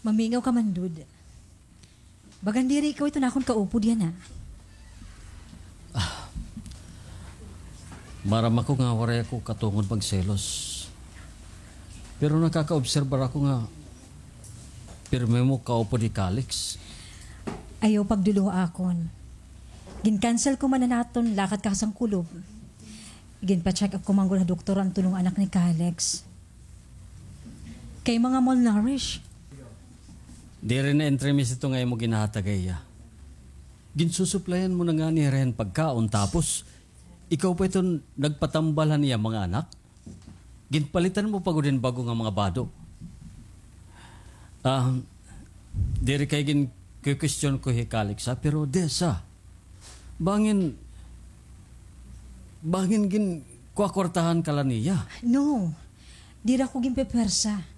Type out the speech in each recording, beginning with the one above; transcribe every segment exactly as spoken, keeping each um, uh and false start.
Mamingaw ka man, Dud. Bagan diri ikaw iton akon kaupod yana. Maaram ako nga waray ako katungod magselos. Pero nakakaobserbar ako nga pirme mo kaupod hi Calix. Ayaw pagdulo ha akon. Gin-cancel ko man an aton lakat kakasangkulob. Ginpa-check up ko man gud ha doktor an tulo nga anak ni Calix. Kay mga malnourished. Diri na entremis ito nga imo ginhatag ha iya. Ginsusuplayan mo na ngani hira hin pagkaon, tapos ikaw pa iton nagpatambal han iya mga anak? Ginpalitan mo pa gud hin bag-o nga mga bado. Ah, diri kay ginkukwestiyon ko hi Calix, ha, pero Dessa, bangin, bangin ginkukwartahan ka la niya? No, diri ako ginpepwersa.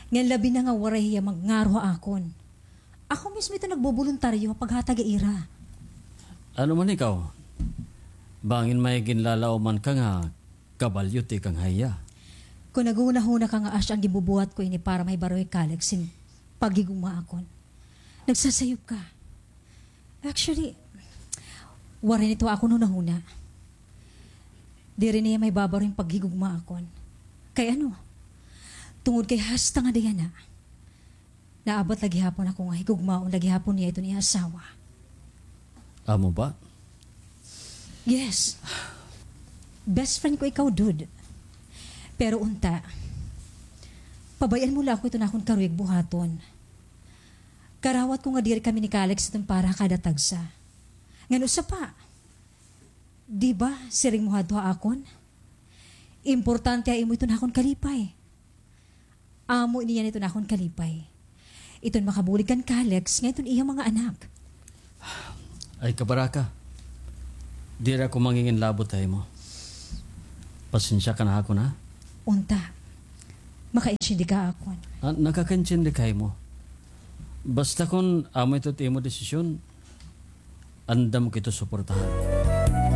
Ngan labi na nga waray hiya magngaro ha akon. Ako mismo ito nagboboluntaryo ha paghatag ha ira. Ano man ikaw? Bangin may ginlalauman ka nga kabalyo tikang ha iya? Kon naghunahuna ka nga asya an ginbubuhat ko ini para mahibaro hi Calix hin paghigugma ha akon, nagsasayop ka. Actually, waray na ito ha akon hunahuna. Diri na hiya mahibabaro hin paghigugma ha akon. Kay ano? Tungod kay hasta ngada yana, naabot la gihapon ako nga higugmaon la gihapon niya iton iya asawa. Amo ba? Yes. Best friend ko ikaw, Dud. Pero unta, pabay-an mo la ako iton akon karuyag buhaton. Karawat ko nga diri kami ni Calix iton para ha kada tagsa. Ngan usa pa, di ba, siring mo hadto ha akon, importante ha imo iton akon kalipay. Amo ini yana iton akon kalipay. Iton makabulig kan Calix ngan iton iya mga anak. Ay, kabaraka. Diri ako manginginlabot ha imo. Pasensya ka na ha akon, ha? Unta, makaintindi ka ha akon. Ah, nakakaintindi ka ha imo. Basta kon amo ito it imo desisyon, andam ko ito suportahan.